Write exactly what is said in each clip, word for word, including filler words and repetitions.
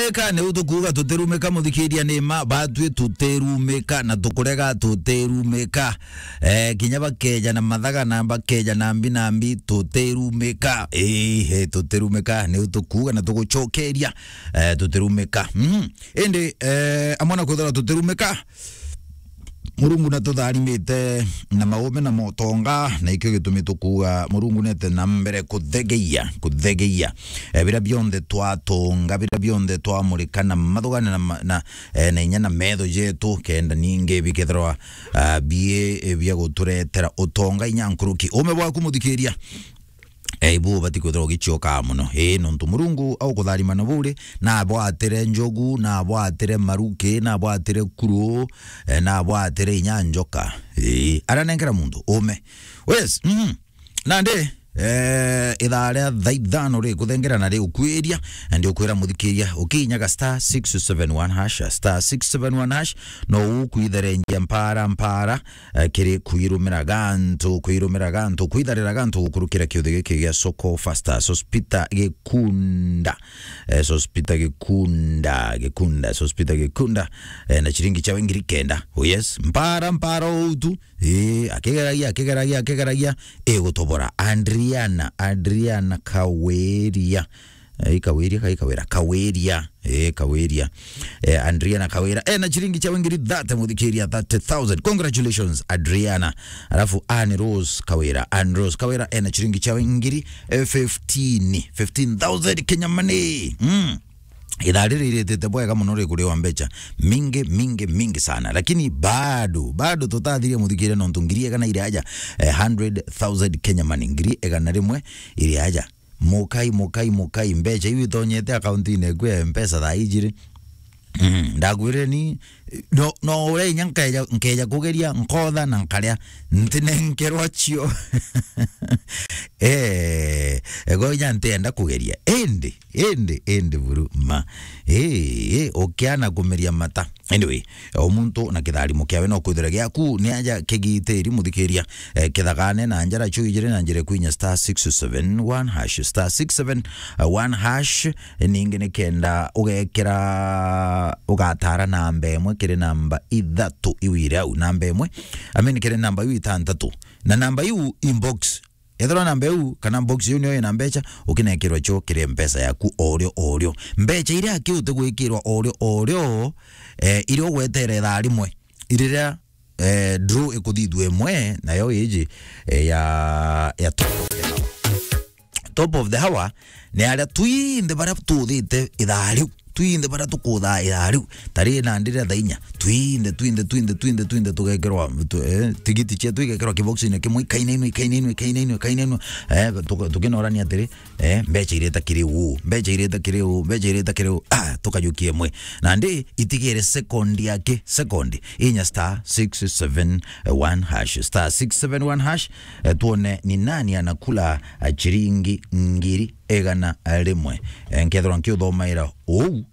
Tutirumika, niu tukuuga tutirumika, muthikiria, ni ma, batwi tutirumika, na tukurega tutirumika. Eh, kinya bakeja na mathaga na bakeja na mbi na mbi, tutirumika. Ii, he, tutirumika, niu tukuuga na tugucokeria, eh, tutirumika. Mhm. Indi, eh, amwe na kwithirwa tutirumika, Murungu natutharimite na maume na motonga, na ikio gitumi tukuuga Murungu nete na mbere kuthegeia, kuthegeia. Eh, biria bionthe twatonga, biria bionthe twamurika na mathugane na ma-, na, eh, na inya na metho jetu, kenda ningi bikethirwa, ah, bie, eh, bia guturetera utonga inya nkuruki. Ume bwaku, muthikiria, eh, ibu ubati kwithirwa ugiciokaa mono. Ii, nontu Murungu aukutharima na buri, na abwatire njogu, na abwatire maruki, na abwatire kuru, eh, na abwatire inya njoka. Ii, aranenkera muntu ume. Yes, mhm. Nandi, eh, ithaa ria thaa ithano rikuthengera na riukwiria, na ndiukwira muthikiria, ukinyaga star six seven one hash, star six seven one hash, no ukwitherengia mpara, mpara, eh, kiri kwirumira gantu, kwirumira gantu, kwitharira gantu gukurukira kiuthi giki gia Soko Fasta. Sospita Gikunda. Eh, Sospita Gikunda, Gikunda, Sospita Gikunda, eh, na chiringi chawe ngiri kenda. Oh yes, mpara, mpara utu. Eh, akigeragia, akigeragia, akigeragia, igutobora. Adriana, Adriana Kawiria. Eh, Kawiria, kai Kawira, Kawiria. Eh, Kawiria. Eh, Adriana Kawira. Eh, na chiringi chawe ngiri thirty, muthikiria, thirty thousand. Congratulations, Adriana. Alafu Anne Rose Kawira. Anne Rose Kawira, eh, na chiringi chawe ngiri, eh, fifteen. Fifteen thousand Kenya money. Mm. Ithaa riri iritite bwega mono rikuriwa mbecha. Mingi, mingi, mingi sana. Lakini bado, bado tutathirie muthikiria nontu ngiri igana iri aja. Eh, hundred thousand Kenya money. Ngiri igana rimwe iri aja. Mukai, mukai, mukai, mbecha iu itonyete akaunti-ini eku ya Mpesa thaa iji ri. Mm, ndakwirire ni, no, no uria inya nkeja, nkeja kugeria, nkotha na nkaria, ntinenkerwa cio. Eh, ego inya ntienda kugeria. Indi, indi, indi buru, ma. Eh, eh, ukiana kumeria mata. Anyway, o muntu na kitharimo kiawe no kwithira giaku ni aja kigitiri muthikiria, eh, kithagane na njara chu ijiri na njira kwinya star six seven one hash, star six seven one hash, ningi ni kenda ugekira, ugatara namba imwe kiri namba ithatu iu iri au, namba imwe, I mean, kiri namba iu itantatu. Na namba iu inbox, ethirwa namba iu kana box iu niyo ina mbecha, ukinekirwa cio kiri mpesa yaku orio orio. Mbecha iria aki utigwikirwa orio orio, eh, iria ugwetere ithaa rimwe, iriria, eh, draw ikuthithua imwe, nayo iji, eh, ya, ya top of the hour. Top of the hour ni aria twinthe baria tuthite ithaa riu. Twinthe baria tukuthaa ithaa riu. Tari nandi ria thaa inya. Twinthe, twinthe, twinthe, twinthe, twinthe tugekirwa, tu-, eh, tigiti cietu igekirwa kiboxine kimwe, ikainainwa, ikainainwa, ikainainwa, ikainainwa. Eh, tuka-, tukinorania atiri, eh, mbecha ireta kiri u, mbecha ireta kiri u, mbecha ireta kiri u. Ah, tukajukia imwe. Nandi itigire second yake, second. Inya star six seven one hash, star six seven one hash, eh, tuone ni nani anakula, eh, chiringi ngiri igana rimwe. Eh, nkethirwa nkiuthomaira uu,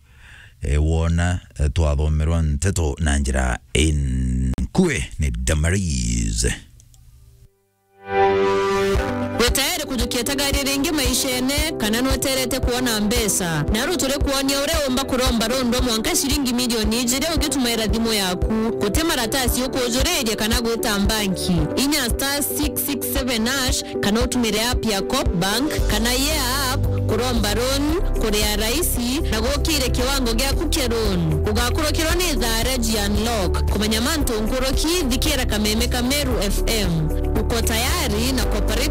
eh, wona, eh, twathomerwa nteto na njira inkue ni Damaris. Wi tayari kujukia tagari ringi maishene, kana nweterete kwona mbeca? Naru turi kwonia uria umba kuromba rundwa mwanka ciringi milioni ijiri ugitumaira thimu yaku. Guti maratasi ukujuriria kana gwita mbanki. Inya star six six seven hash kana utumire app ya Coop Bank kana Yeah App kuromba loan, kuria raisi na gukire kiwango giaku kia loan. Ugakurukirwa ni thaa ria G Unlock. Kumenya mantu nkuruki, thikira kameme ka Meru F M. Uko tayari na Cooperative